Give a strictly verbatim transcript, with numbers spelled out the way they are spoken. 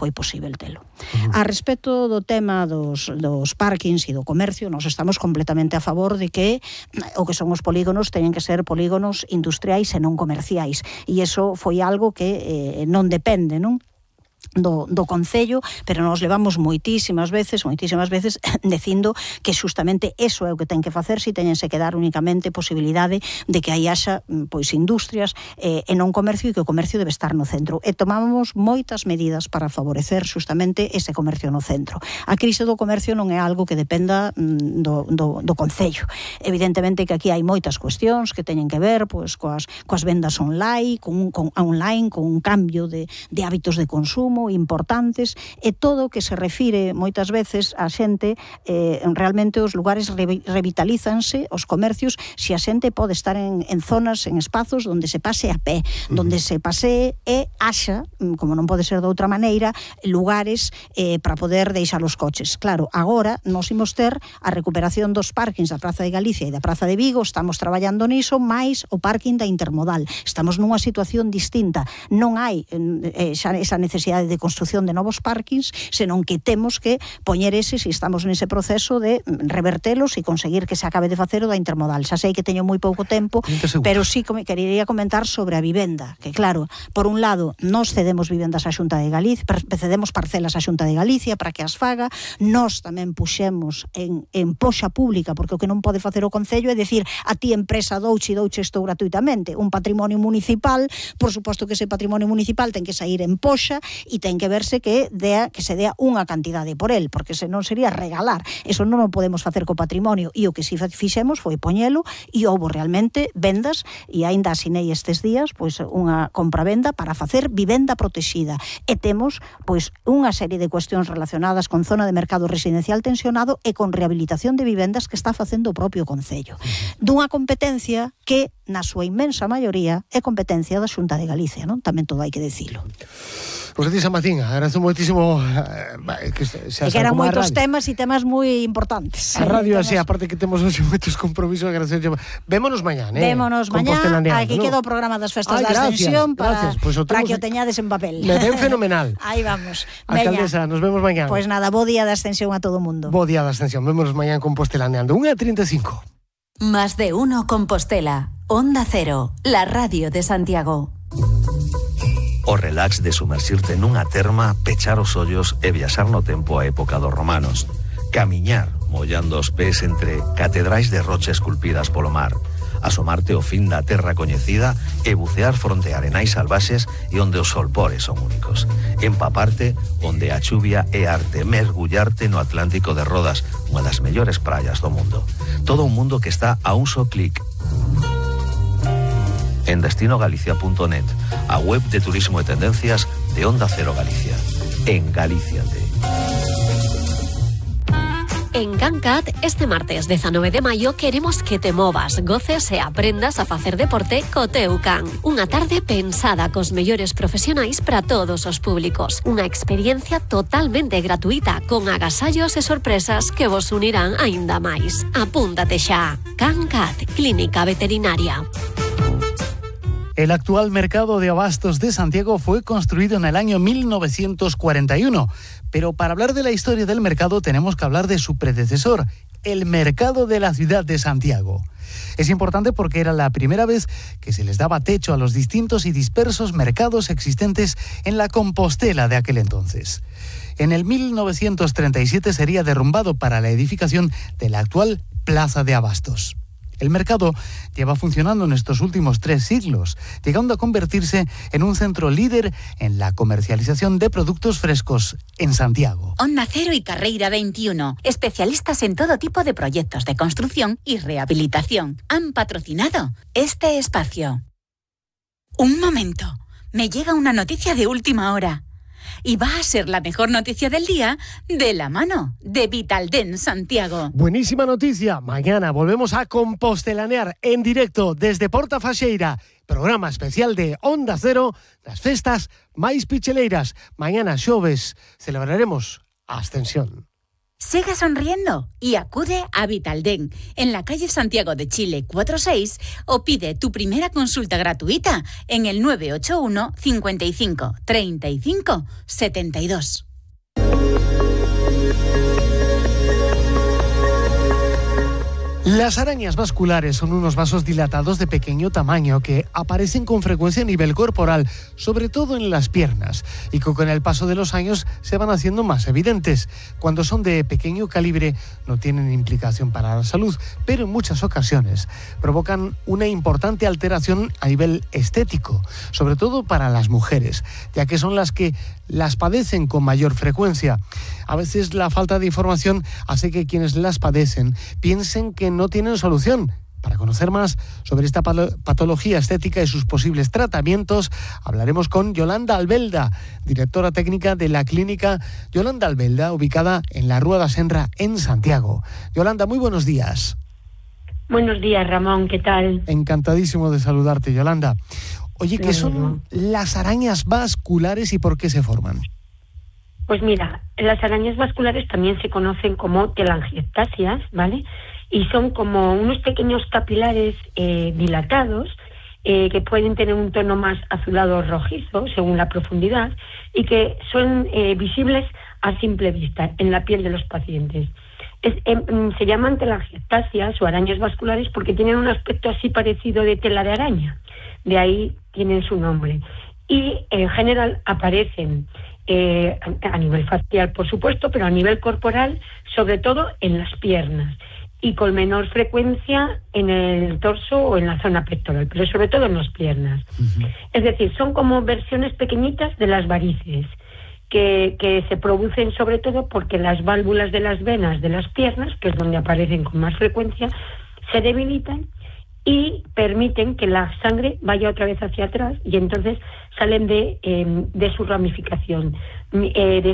foi posible telo. Uh-huh. A respecto do tema dos, dos parkings e do comercio, nos estamos completamente a favor de que o que son os polígonos teñen que ser polígonos industriais e non comerciais, e iso foi algo que eh, non depende, non? Do, do Concello, pero nos levamos moitísimas veces, moitísimas veces dicindo que xustamente eso é o que ten que facer, si teñense que dar únicamente posibilidade de que aí haxa pois industrias eh, e non comercio, e que o comercio debe estar no centro. E tomamos moitas medidas para favorecer xustamente ese comercio no centro. A crise do comercio non é algo que dependa mm, do, do, do Concello. Evidentemente que aquí hai moitas cuestións que teñen que ver pois coas, coas vendas online, con, con, online, con un cambio de, de hábitos de consumo importantes, e todo o que se refire moitas veces a xente, eh, realmente os lugares re, revitalízanse, os comercios, se a xente pode estar en, en zonas, en espazos onde se pase a pé, uh-huh. onde se pasee e haxa, como non pode ser de outra maneira, lugares eh, para poder deixar os coches. Claro, agora nos imos ter a recuperación dos parkings da Praza de Galicia e da Praza de Vigo, estamos traballando niso, máis o parking da Intermodal. Estamos nunha situación distinta. Non hai eh, xa esa necesidade de construción de novos parkings, senón que temos que poñer eses, e estamos nese proceso de revertelos e conseguir que se acabe de facer o da Intermodal. Xa sei que teño moi pouco tempo, pero sí que quería comentar sobre a vivenda, que claro, por un lado, nos cedemos vivendas á Xunta de Galicia, cedemos parcelas á Xunta de Galicia para que as faga, nos tamén puxemos en, en poxa pública, porque o que non pode facer o Concello é decir, a ti empresa douche e douche isto gratuitamente. Un patrimonio municipal, por suposto que ese patrimonio municipal ten que sair en poxa e ten que verse que dea, que se dea unha cantidade por el, porque senón sería regalar. Eso non o podemos facer co patrimonio, e o que si fixemos foi poñelo, e houbo realmente vendas, e aínda asinei estes días pois unha compra-venda para facer vivenda protexida, e temos pois unha serie de cuestións relacionadas con zona de mercado residencial tensionado e con rehabilitación de vivendas que está facendo o propio Concello, dunha competencia que na súa inmensa maioría é competencia da Xunta de Galicia, non? Tamén todo hai que dicilo. Pois a ti, San Martín, agradezo moitísimo eh, que, se, que eran moitos temas e temas moi importantes. A radio así, aparte que temos hoxe moitos compromisos, agradecer. Vémonos mañán, eh? Vémonos mañán, aquí ¿no? Queda o programa das festas Ay, da Ascensión para, pues para que o teñades en papel. Me ven fenomenal. Aí vamos. Alcaldesa, nos vemos mañán. Pois pues nada, bo día da Ascensión a todo o mundo. Bo día da Ascensión, vémonos mañán Compostelaneando. unha e trinta e cinco. Más de uno Compostela. Onda Cero, la radio de Santiago. O relax de sumersirte nunha terma, pechar os ollos e viaxar no tempo a época dos romanos. Camiñar, mollando os pés entre catedrais de rocha esculpidas polo mar. Asomarte ao fin da terra coñecida e bucear fronte a arenais salvaxes e onde os solpores son únicos. Empaparte onde a chuvia é arte. Mergullarte no Atlántico de Rodas, unha das mellores praias do mundo. Todo un mundo que está a un só clic. En destino galicia punto net, a web de turismo e tendencias de Onda Cero Galicia. En Galíciate. En CanCat, este martes dezanove de maio, queremos que te movas, goces e aprendas a facer deporte co teu can. Unha tarde pensada cos mellores profesionais para todos os públicos. Unha experiencia totalmente gratuita, con agasallos e sorpresas que vos unirán aínda máis. Apúntate xa. CanCat, Clínica Veterinaria. El actual mercado de abastos de Santiago fue construido en el año mil novecientos cuarenta y uno, pero para hablar de la historia del mercado tenemos que hablar de su predecesor, el mercado de la ciudad de Santiago. Es importante porque era la primera vez que se les daba techo a los distintos y dispersos mercados existentes en la Compostela de aquel entonces. En el mil novecientos treinta y siete sería derrumbado para la edificación de la actual Plaza de Abastos. El mercado lleva funcionando en estos últimos tres siglos, llegando a convertirse en un centro líder en la comercialización de productos frescos en Santiago. Onda Cero y Carreira veintiuno, especialistas en todo tipo de proyectos de construcción y rehabilitación, han patrocinado este espacio. Un momento, me llega una noticia de última hora. Y va a ser la mejor noticia del día de la mano de Vitalden Santiago. Buenísima noticia. Mañana volvemos a compostelanear en directo desde Porta Faxeira. Programa especial de Onda Cero, las festas máis picheleiras. Mañana, xoves, celebraremos a Ascensión. Sigue sonriendo y acude a Vitaldent en la calle Santiago de Chile cuarenta y seis o pide tu primera consulta gratuita en el nueve ocho uno, cincuenta y cinco, treinta y cinco, setenta y dos. Las arañas vasculares son unos vasos dilatados de pequeño tamaño que aparecen con frecuencia a nivel corporal, sobre todo en las piernas, y que con el paso de los años se van haciendo más evidentes. Cuando son de pequeño calibre no tienen implicación para la salud, pero en muchas ocasiones provocan una importante alteración a nivel estético, sobre todo para las mujeres, ya que son las que las padecen con mayor frecuencia. A veces la falta de información hace que quienes las padecen piensen que no tienen solución. Para conocer más sobre esta patología estética y sus posibles tratamientos, hablaremos con Yolanda Albelda, directora técnica de la clínica Yolanda Albelda, ubicada en la Rúa da Senra, en Santiago. Yolanda, muy buenos días. Buenos días, Ramón, ¿qué tal? Encantadísimo de saludarte, Yolanda. Oye, ¿qué son las arañas vasculares y por qué se forman? Pues mira, las arañas vasculares también se conocen como telangiectasias, ¿vale? Y son como unos pequeños capilares eh, dilatados eh, que pueden tener un tono más azulado o rojizo según la profundidad y que son eh, visibles a simple vista en la piel de los pacientes. Es, eh, se llaman telangiectasias o arañas vasculares porque tienen un aspecto así parecido de tela de araña. De ahí tienen su nombre. Y en general aparecen eh, a nivel facial, por supuesto, pero a nivel corporal, sobre todo en las piernas y con menor frecuencia en el torso o en la zona pectoral, pero sobre todo en las piernas. Uh-huh. Es decir, son como versiones pequeñitas de las varices que, que se producen sobre todo porque las válvulas de las venas de las piernas, que es donde aparecen con más frecuencia, se debilitan y permiten que la sangre vaya otra vez hacia atrás y entonces salen de, eh, de su ramificación, eh, de